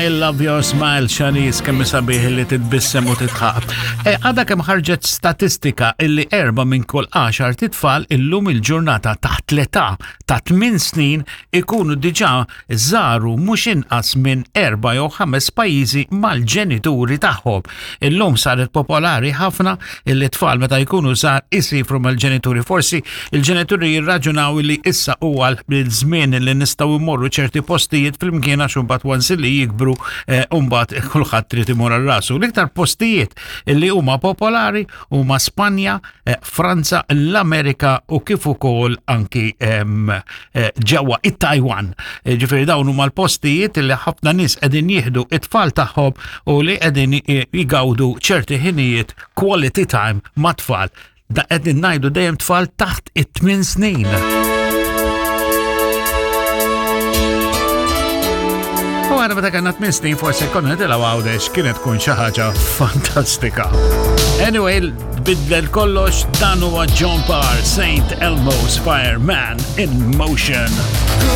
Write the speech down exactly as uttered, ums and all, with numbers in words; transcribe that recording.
I love your smile, Shanice, kemm sabiħ li titbissem u tidħaq. E, għadha kemm ħarġet statistika illi erba minn kull għaxar titfal illum il-ġurnata taħt l-età ta' tmien snin ikunu diġà żaru mhux inqas minn erba' jew ħames pajjiżi mal-ġenituri tagħhom. Illum saret popolari ħafna illi tfal meta jkunu żgħar isifru mal-ġenituri. Forsi il-ġenituri jirraġunaw li issa huwa l-żmien li nistgħu immorru ċerti postijiet flimkien għax imbagħad once li jikbru eh, mbagħad kulħadd trid imur għal rasu. L-iktar postijiet li huma popolari huma Spanja, eh, Franza, l-Amerika u kif ukoll anki em, eh, ġewwa it-Taiwan. Eh, Ġifieri dawn huma l-postijiet li ħafna nies qegħdin jieħdu it-tfal tagħhom u li qegħdin jgawdu ċerti ħinijiet quality time mat-tfal. Da qegħdin ngħidu dejjem tfal taħt it-tmien snin. U għana meta kellna tmien snin forsi konna nitilgħu Għawdex kienet tkun xi ħaġa fantastika. Anyway, bidlel kollox, dan huwa John Parr, Saint Elmo's Fireman in Motion.